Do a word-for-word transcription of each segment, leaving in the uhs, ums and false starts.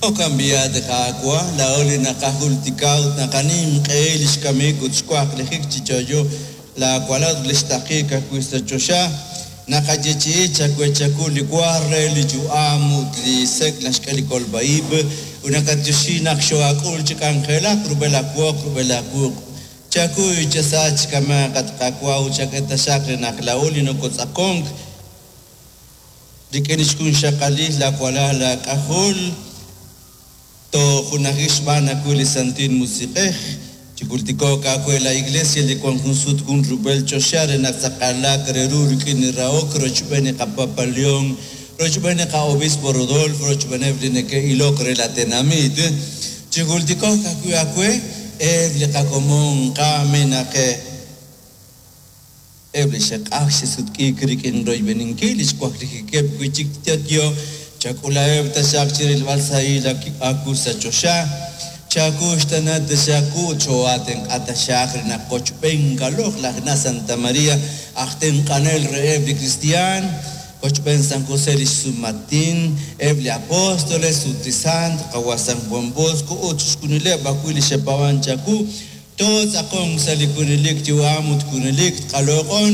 Jo'kan b'i' Qaawa', laa'o li naqajultika ut naqaninq'ehi li xkamik ut xwaqlijik chi yo'yo laawalal ut li xtaqik ajwi' sa' choxa. Naqayeechi'i chawe chaku li wa re li yu'am ut li sek' naxk'e li kolb'a-ib' ut naqatyoxi naq xo'ak'ul chi k'anjelak rub'el aawoq rub'el aawuq'. Chakuy chasach kama' at Qaawa' ut chak'e taxaq re naq laa'o li nokotz'aqonk rik'in xjunxaqalil laawalal laak'ajol tojunaji xb'aan ajwi' li Santil Musiq'ej. Chijultiko'q aawe la Iglesia li wan jun sut jun rub'el choxa re naq tz'aqalaq re ru rik'in li rahok rochb'een li qapapa León, rochb'een li qa'obispo Rodolfo, rochb'eeneb' li neke'ilok re la tenamit. Chijultiko'q ajwi' aawe eb' li qakomon qamenaq eb' li xe'q'aj xe'sutq'iik rik'in royb'eninkil li xwaqlijikeb' wi' chik yo'yo chak'ulaheb' taxaq chirilb'al sahil aawu sa' choxa. Chakuxtana taxaku cho'atenq'a taxaq re naq qochb'een kaloj laj na Santa María aj tenq'anel reheb' li cristian qochb'een San José li xsumatin eb' li apóstoles ut li sant qawa San Juan Bosco ut chixjunileb' ajwi' li xe'paab'an chaku tootz'aqonk sa' li junelik yu'am ut junelik tqaloq'on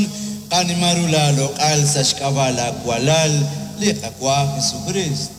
qanima ru laaloq'al sa' xk'ab'a' laawalal li Qaawa' Jesucristo.